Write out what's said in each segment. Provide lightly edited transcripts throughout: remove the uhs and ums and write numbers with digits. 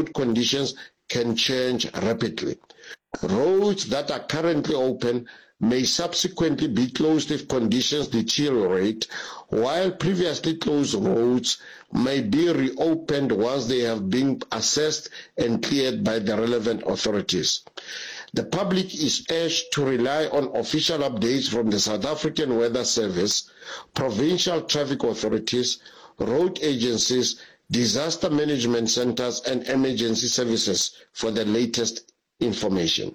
road conditions can change rapidly. Roads that are currently open may subsequently be closed if conditions deteriorate, while previously closed roads may be reopened once they have been assessed and cleared by the relevant authorities. The public is urged to rely on official updates from the South African Weather Service, provincial traffic authorities, road agencies, disaster management centers and emergency services for the latest information.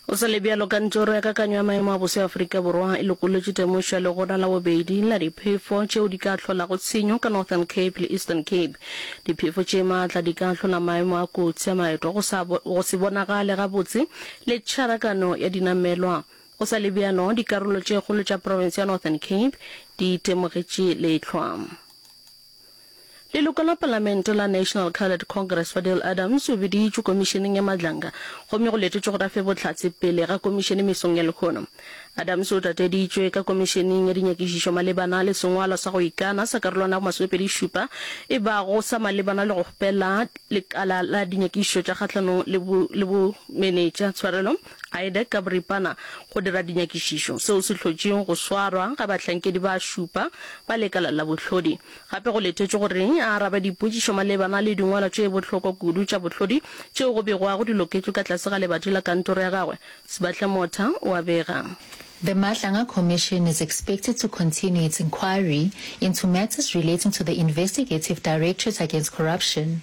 Go sa le bjalo, Kantoro ya Kakanyo ya Maemo a Boso ya Afrika Borwa e lokolotše temošo ya legora la bobedi la diphefo tšeo di ka hlolago tshenyo ka Northern Cape le Eastern Cape. Diphefo tše maatla di ka hlola maemo a kotsi a maeto, go sa go se bonagale gabotse le tšharakano ya dinamelwa. Go sa le bjalo, dikarolo tše kgolo tša profense ya Northern Cape di itemogetše lehlwa. Leloko la Palamente la National Coloured Congress Fadil Adams o biditšwe komišeneng ya Madlanga gomme go letetšwe gore a fe bohlatse pele ga komišene mesong ya lehono. Adams o tateditšwe ka komišeneng ya dinyakišišo malebana le sengwalwa sa go ikana sa karolwana ya bo masomepedi-šupa e bago sa malebana le go kgopela lekala la dinyakišišo tša kgahlanong le bomenetša tshwarelo IDAC ka boripana go dira dinyakišišo, seo se hlotšego go swarwa ga bahlankedi ba šupa ba lekala la bohlodi. Gape go letetšwe gore a arabe dipotšišo malebana le dingwalwa tše bohlokwa kudu tša bohlodi tšeo go begwago di loketšwe ka tlase ga lebati la kantoro ya gagwe, Sibahle Motha o a bega. The Madlanga Commission is expected to continue its inquiry into matters relating to the Investigative Directorate Against Corruption.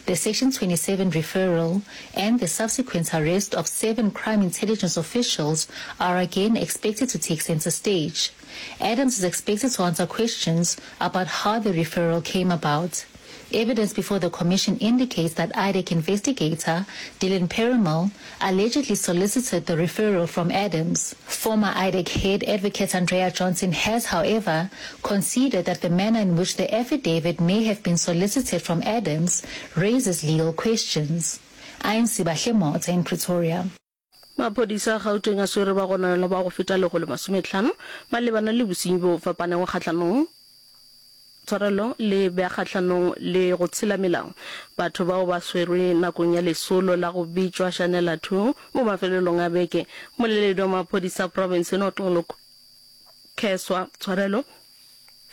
The Section 27 referral and the subsequent arrest of seven crime intelligence officials are again expected to take center stage. Adams is expected to answer questions about how the referral came about. Evidence before the commission indicates that IDEC investigator Dylan Perumal allegedly solicited the referral from Adams. Former IDEC head advocate Andrea Johnson has, however, conceded that the manner in which the affidavit may have been solicited from Adams raises legal questions. I am Sibahle Motha in Pretoria. Maphodisa a Gauteng a swere bagononelwa ba go feta 150 malebana le bosenyi bjo bo fapanego kgahlanong tshwarelo le bja kgahlanong le go tshela melao. Batho bao ba swerwe nakong ya lesolo la go bitšwa Shanela Two mo mafelelong a beke. Mmoleledi wa maphodisa a profense Noxolo Kheswa tshwarelo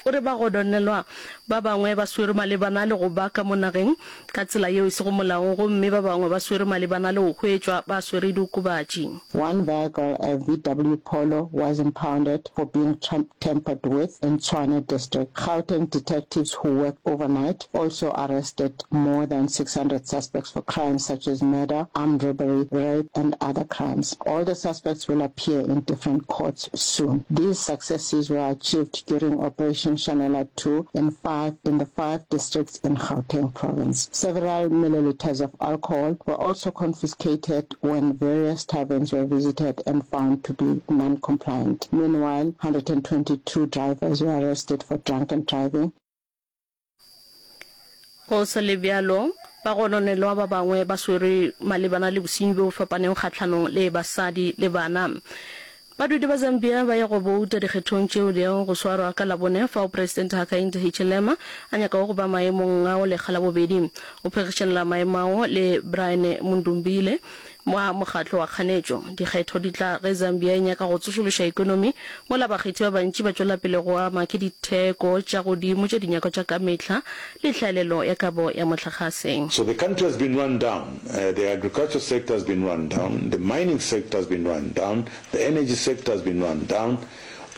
o re bagononelwa ba bangwe ba swerwe malebana le go ba ka mo nageng ka tsela yeo e sego molaong gomme ba bangwe ba swerwe malebana le go hwetšwa ba swere diokobatši. One vehicle, a VW Polo, was impounded for being tampered with in Tshwane district. Gauteng detectives who worked overnight also arrested more than 600 suspects for crimes such as murder, armed robbery, rape and other crimes. All the suspects will appear in different courts soon. These successes were achieved during Operation Shanela 2 in five in the five districts in Gauteng province. Several milliliters of alcohol were also confiscated when various taverns were visited and found to be non-compliant. Meanwhile, 122 drivers were arrested for drunken driving. Go sa le bjalo, bagononelwa ba bangwe ba swerwe malebana le bosenyi bjo bo fapanego kgahlanong le basadi le bana. Badudi ba Zambia ba ya go bouta dikgethong tšeo di yago go swarwa ka Labone fao Presidente Hakainde Hichilema a nyakago go ba maemong ao lekga la bobedi. O phegišanela maemo ao le Brian Mundumbile wa mokgatlo wa kganetšo. Dikgetho di tla ge Zambia e nyaka go tsošološa ekonomi mola bakgethi ba bantši ba tšwela pele go ama ke ditheko tša godimo tša dinyakwa tša ka mehla le hlaelelo ya kabo ya mohlagase. So the country has been run down, the agriculture sector has been run down, the mining sector has been run down, the energy sector has been run down,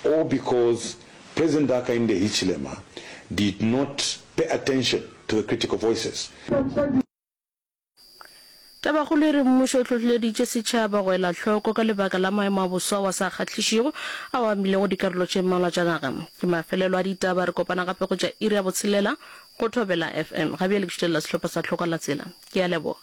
all because President Hakainde Hichilema did not pay attention to the critical voices. Tabakgolo e re mmušo o hlohleleditše setšhaba go ela hloko ka lebaka la maemo a boso ao a sa kgahlišego ao a amilego dikarolo tše mmalwa tša naga. Ke mafelelo a ditaba, re kopana gape go tša iri ya botshelela go Thobela FM. Ga bjale ke šutelela sehlopha sa Tlhoka la Tsela. Ke a leboga.